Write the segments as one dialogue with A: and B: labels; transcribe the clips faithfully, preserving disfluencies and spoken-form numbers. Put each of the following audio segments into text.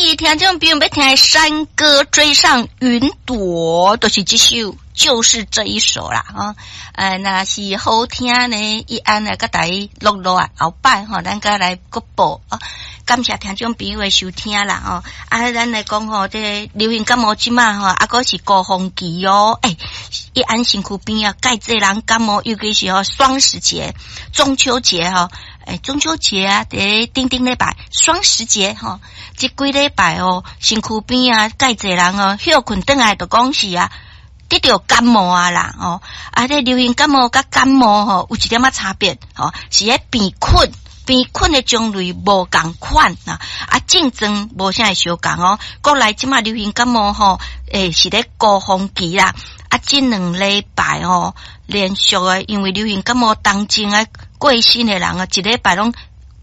A: 以聽眾朋友欲聽《山歌追上雲朵》，就是這首，就是這一首啦，吼。呃，若是好聽呢，伊按來閣帶錄落來後擺吼，咱閣來閣播啊。感謝聽眾朋友的收聽啦，吼。啊，咱來講吼，這个流行感冒這馬吼，啊，閣是高峰期哦。欸，伊按身軀邊啊，蓋濟人感冒，尤其是吼雙十節、中秋節吼。欸，中秋節啊，佇頂頂禮拜雙十節吼，這幾禮拜哦，身軀邊啊，蓋濟人哦，歇睏轉來就講是啊，得著感冒啊啦，吼，啊，這流行感冒佮感冒吼，有一點仔差別，吼，是彼病菌，病菌的種類無仝款啊，啊，症狀無啥會相仝哦。國內這馬流行感冒吼，欸，是咧高峰期啦，啊，這兩禮拜吼，連續的因為流行感冒當中啊過身的人啊，一禮拜攏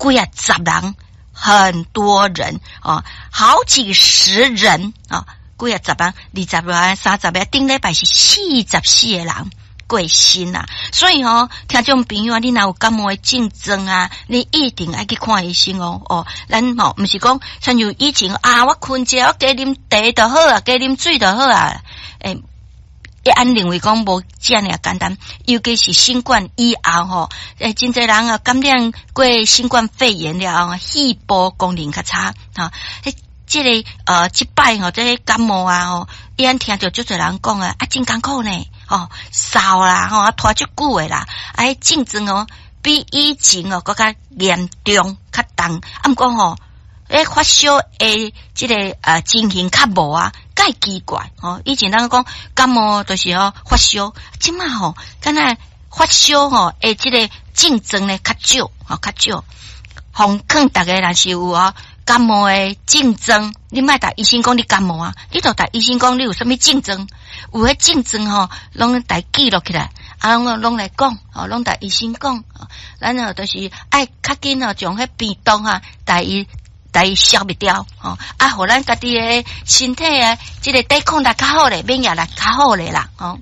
A: 幾仔十人，很多人哦，好幾十人啊。幾仔十人，二十個、三十個，頂禮拜是四十四個人過身啊！所以吼，聽眾朋友啊，你若有感冒的症狀啊，你一定愛去看醫生哦。哦，咱吼毋是講親像以前啊，我睏一下，我加啉茶就好啊，加啉水就好啊。欸，一按認為講無遮爾簡單，尤其是新冠以後吼，欸，真濟人啊感染過新冠肺炎了後，肺部功能較差，吼。這个呃，這擺吼，這个感冒啊吼，伊按聽著足濟人講啊，啊真艱苦呢，吼，嗽啦，吼，啊拖足久的啦，啊，彼症狀哦，比以前哦閣較嚴重、較重。啊，毋過吼，欸發燒的這个呃情形較無啊，蓋奇怪吼。以前咱講感冒就是吼發燒，這馬吼，敢若發燒吼的這个症狀呢較少，吼較少。奉勸逐家若是有哦感冒的症狀，你莫共醫生講你感冒啊，你就共醫生講你有啥物症狀，有彼症狀吼，攏共記錄起來，啊，攏攏來講，吼，攏共醫生講，咱哦就是愛較緊哦，將彼病毒啊，共伊共伊消滅掉，吼，啊，予咱家己的身體啊，這个抵抗力較好咧，免疫力較好咧啦，吼。